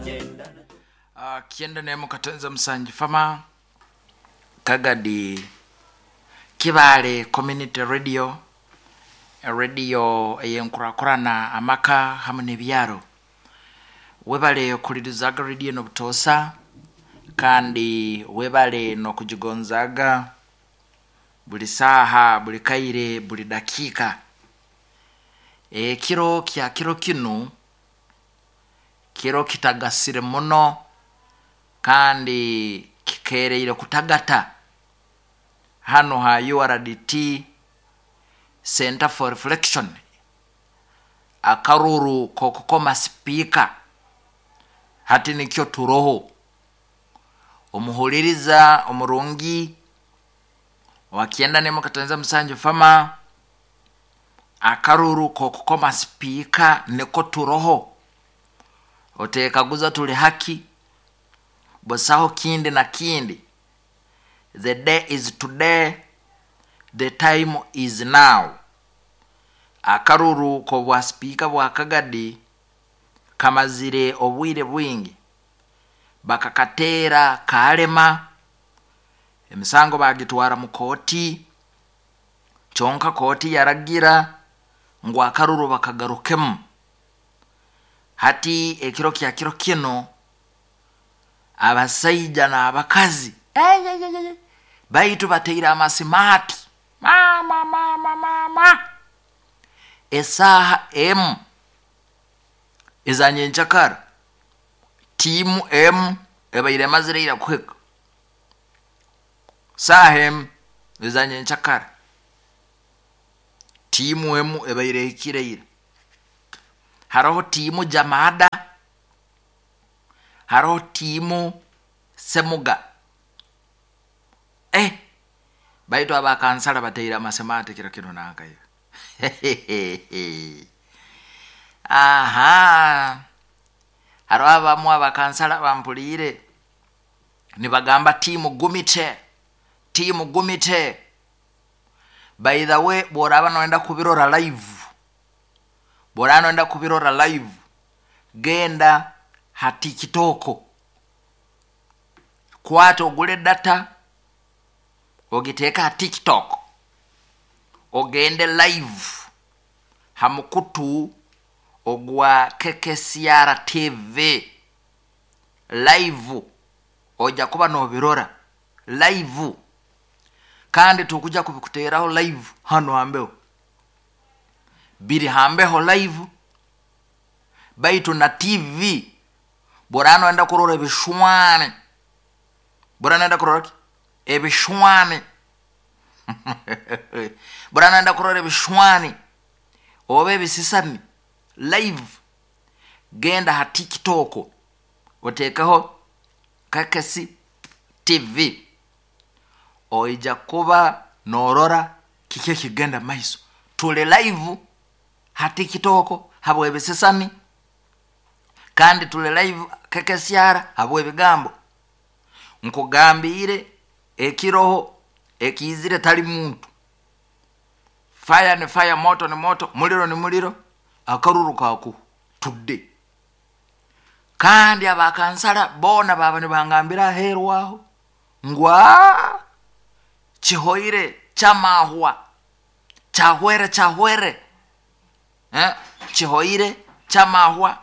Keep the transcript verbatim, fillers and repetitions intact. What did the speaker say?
Uh, kyenda nemu katonza musanju fama Kagadi Kibale Community Radio, radio eyenkurakurana amaka hamu n'ebyaro. Webale okulirizaga radio n'obutosa, kandi webale n'okugigonzaga buli saaha, buli kaire, buli dakiika. Ekiro kya kiro kinu kiro kitagasire muno kandi kikereire kutagata hano ha U R D T Center for Reflection, akaruru kokukoma speaker hati nikyo turoho. Omuhuliriza omurungi wakienda nemo katanza musanju fama, akaruru kokukoma speaker niko turoho. Otekaguza tuli haki busaho kindi na kindi. The day is today, the time is now. Akaruru ko bwa speaker bwa Kagadi kamazire obwire bwingi, bakakatera kalema emisango bagitwara mu koti, kyonka koti yaragira ngu akaruru bakagarukemu. Hati ekiro kya kiro kino abasaija n'abakazi ey, ey, ey, ey, baitu bateire amasimati mama mama mama esaha M ezanye nchakara timu M ebaire mazire ira kuhika saha M ezanye nchakara timu M ebaire hikire ira. Haroho timu Jamada, haroho timu Semuga. Eh, baitu abakansala bateire amasemate kira kino nankayo. Aha, haro abamu abakansala bampulire nibagamba timu gumite, timu gumite. By the way, boraba noenda kubirora live, boraba noenda kubirora live, genda ha TikTok, kwata ogule data ogiteeka ha TikTok, ogende live ha mukutu ogwa K K C R T V live, oja kuba nobirora live, kandi tukuja kubikuteraho live hano hambeho biri hambeho live. Baitu na T V borano enda kurora ebishwane, borano enda kurora ki ebishwane borano enda kurora ebishwane oba ebisisani live, genda ha TikTok otekaho K K C T V, oija kuba norora kike kigenda maiso. Tule live ha TikTok habwe ebisisani, kandi tule live K K C R habwe ebigambo. Nkugambire ekiroho ekizire tali muntu. Fire ni fire, moto ni moto, muliro ni muliro, akaruru kaku tudde. Kandi abakansala bona baba nibangambira aheru aho ngwa chihoire chamahwa chahwere chahwere eh chihoire chamahwa.